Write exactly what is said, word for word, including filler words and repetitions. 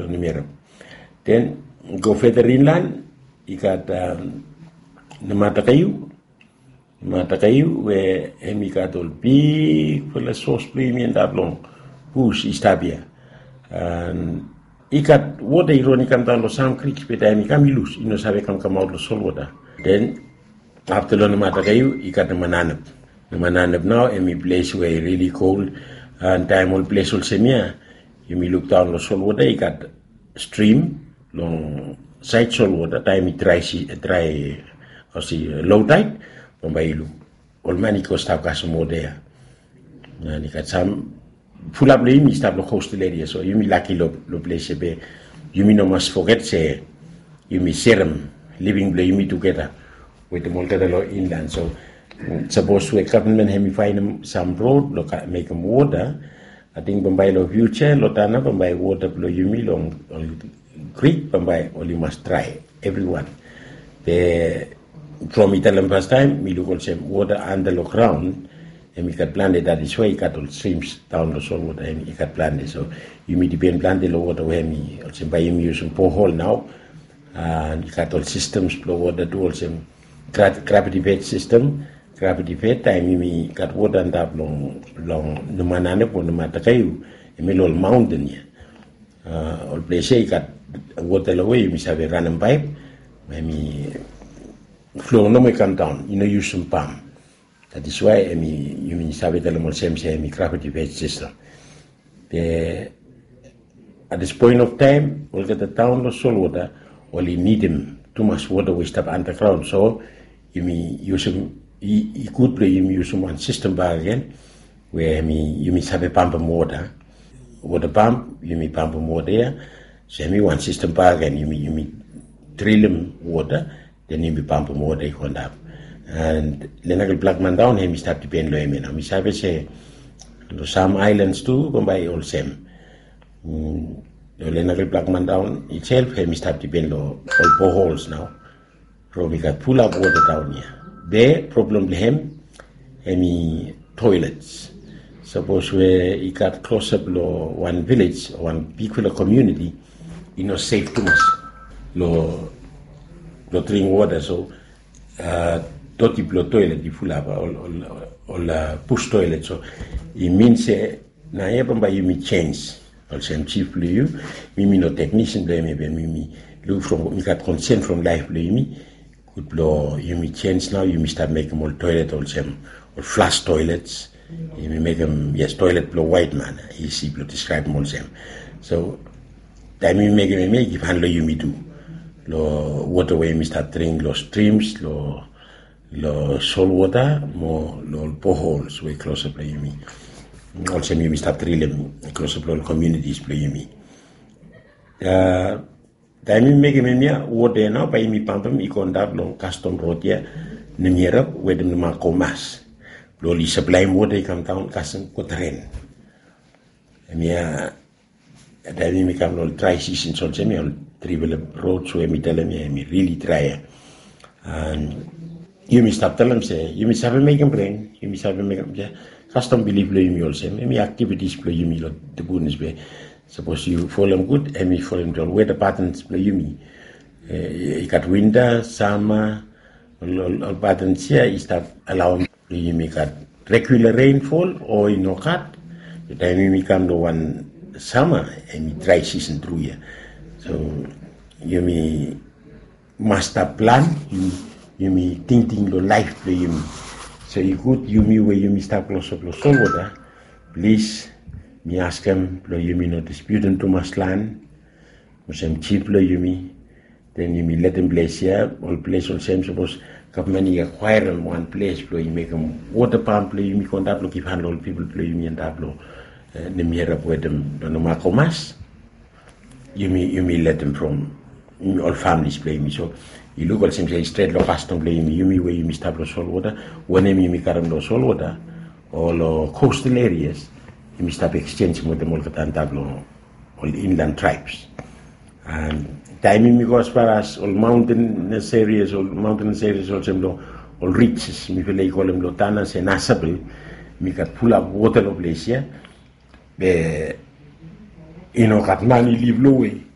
Namiarap. Den go further inland, i gat Nematakaiu. Nematakaiu we hemi gat ol bigfala sos blong yumi antap long bus i stap ia. I gat wota i ron i kam daon long sam krik, be taem i kam i lus, i no save kamkamaot long solwota. Den afta long Nematakaiu i gat Nemananep. Nemananep nao hemi ples we i rili kol. Taem ol ples olsem ia yumi luk daon long solwota, i gat strim long saed solwota, taem i drae, drae, o si, low tide, bambae i luk ol man i go stap kasem wota ia. An i gat sam fulap long yumi i stap long coastal area, so yumi laki long ples ia, be yumi no mas foget se yumi serem living blong yumi tugeta wetem olgeta long inland. So sapos we gavman hemi faenem sam rod blong mekem wota, ating bambae long fiuja long Tanna, bambae wota blong yumi long ol krik bambae oli mas drae evriwan. Be from mi talem fastaem, mi luk olsem wota anda long graon hemi gat plante, dat is wae i gat ol strims daon long solwota hemi gat plante. So yumi dipen plante long wota we hemi olsem bae yumi yusum bohol nao. I gat ol sistems blong wota tu olsem graviti fed sistem. Graviti fed, taem yumi gat wota antap long Nemananep o Nematakaiu, hemi long ol maonten ia. Ol ples ia i gat wota long we yumi save ranem paep, hemi flo nomo i kam daon, i no yusum pam. Dat is wae hemi, yumi save talem olsem se hemi graviti fed sistem. Be at this point of time, olgeta taon long solwota oli nidim tumas wota we i stap andagraon. So yumi yusum, i gud blong yumi yusum wan sistem bakegen we hemi, yumi save pampem wota. Wota pamp, yumi pampem wota ia. So hemi wan sistem bakegen, yumi, yumi drilem wota, den yumi pampem wota i go antap. An Lenakel Blakman daon hemi stap dipen long hemi nao. Mi save se long sam aelans tu bambae i olsem. Long Lenakel Blakman daon itself hemi stap dipen long ol bohols nao. From i gat fulap wota daon ia. Be problem blong hem hemi toilets. Sapos we i gat klosap long wan vilej o wan bigfala komuniti, i no sef tumas long dring wota. So doti blong toilet i fulap, ol bus toilet. So i min se naoia bambae yumi jenis. Olsem jif blong yu, mi mi no teknisian blong yumi, be mi mi luk from, mi gat konsen from laef blong yumi. Gud blong yumi jenis nao, yumi stap mekem ol toilet olsem ol flas toilets. Yumi mekem, yes, toilet blong waet man, isi blong diskraebem olsem. So taem yumi mekem hemia, i givhan long yumi tu long wota we yumi stap dring long strims, long long solwota mo long ol bohols we klosap long yumi. Olsem yumi stap drilem klosap long ol komunitis blong yumi. Taem yumi mekem hemia, wota ia nao bae yumi pampem i go antap long kastom rod ia, Namiarap wetem Nemakomas, blong oli saplaem wota i kam daon kasem Kotaren. Hemia taem yumi kam long drae sisens olsem ia, ol trifala rods we mi talem ia hemi rili drae ia. An yumi stap talem se yumi save mekem ren, yumi save mekem ia. Kastom bilif blong yumi olsem, hemi aktivitis blong yumi long Tabunis, be sapos yu folem gud, hemi folem ol weta patens blong yumi. I gat winta, sama, ol patens ia i stap alaoem blong yumi gat regula renfol o i no gat. Taem yumi kam long wan sama, hemi drae sisen tru ia. So yumi mas stap plan, yumi tingting long laef blong yumi. So i gud yumi we yumi stap klosap long solwota, plis, mi askem blong yumi no dispiutem tumas lan olsem jif blong yumi. Den yumi letem ples ia, ol ples olsem sapos gavman i akwaerem wan ples blong i mekem wota pamp blong yumi go antap long givhan long ol pipol blong yumi antap long Namiarap wetem long Nemakomas, yumi, yumi letem from ol familis blong yumi. So i luk olsem se i stret long kastom blong yumi, yumi we yumi stap long solwota, wanem yumi karem long solwota o long kostal erias, yumi stap eksenjem wetem olgeta antap long ol inlan traebs. Taem yumi go as far as ol maontenes erias, ol maontenes erias olsem long ol rijis, mifala i kolem long Tanna se Nasabel, mi gat fulap wota long ples ia. Be i no gat man i lif long we